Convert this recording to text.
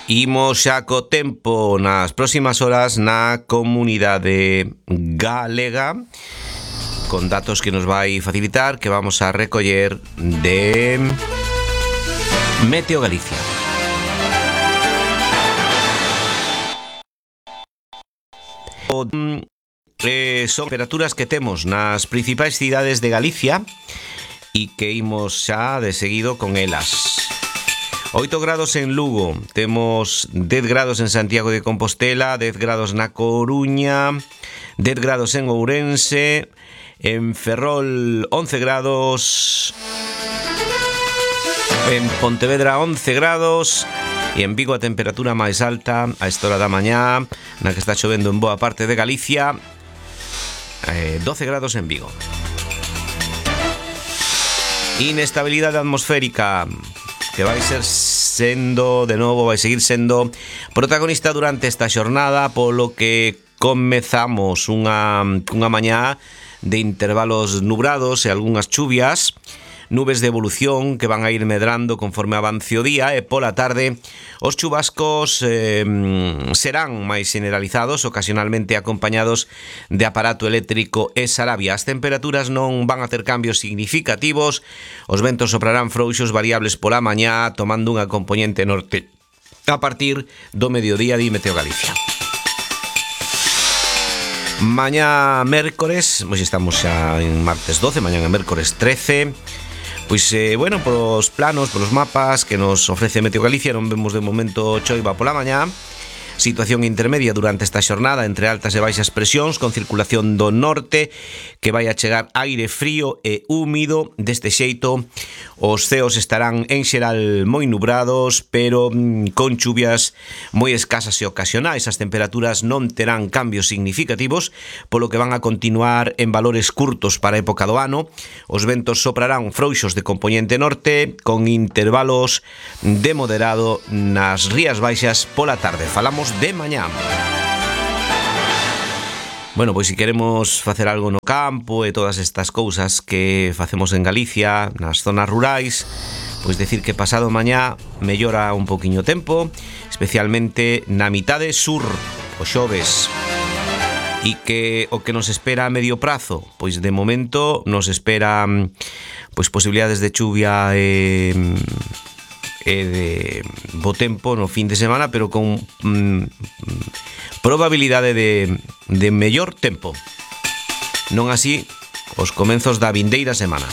Imos xa co tempo nas próximas horas na comunidade galega, con datos que nos vai facilitar, que vamos a recoller de Meteo Galicia. Son temperaturas que temos nas principais cidades de Galicia e que imos xa de seguido con elas. 8 grados en Lugo, temos 10 grados en Santiago de Compostela, 10 grados na Coruña, 10 grados en Ourense, en Ferrol 11 grados, en Pontevedra 11 grados e en Vigo a temperatura máis alta a esta hora da mañá, na que está chovendo en boa parte de Galicia, 12 grados en Vigo. Inestabilidade atmosférica que vai ser sendo, de novo, vai seguir sendo protagonista durante esta xornada, polo que comezamos unha mañá de intervalos nubrados e algunhas chuvias, nubes de evolución que van a ir medrando conforme avance o día, e pola tarde os chubascos serán máis generalizados, ocasionalmente acompañados de aparato eléctrico e sarabia. As temperaturas non van a ter cambios significativos, os ventos soprarán frouxos variables pola mañá, tomando unha componente norte a partir do mediodía de Meteo Galicia. Mañá mércores, pois estamos xa en martes 12, mañá é mércores 13. Pois, bueno, polos planos, polos mapas que nos ofrece Meteo Galicia, non vemos de momento choiva pola mañá. Situación intermedia durante esta xornada entre altas e baixas presións, con circulación do norte, que vai a chegar aire frío e húmido. Deste xeito, os ceos estarán en xeral moi nubrados, pero con chuvias moi escasas e ocasionais. As temperaturas non terán cambios significativos, polo que van a continuar en valores curtos para a época do ano. Os ventos soprarán frouxos de compoñente norte, con intervalos de moderado nas rías baixas pola tarde. Falamos de mañá. Bueno, pois se queremos facer algo no campo e todas estas cousas que facemos en Galicia, nas zonas rurais, pois decir que pasado mañá mellora un poquinho o tempo, especialmente na mitade sur, o xoves. E que o que nos espera a medio prazo, pois de momento nos espera pois posibilidades de chuvia e de bo tempo no fin de semana, pero con probabilidade de mellor tempo. Non así os comenzos da vindeira semana.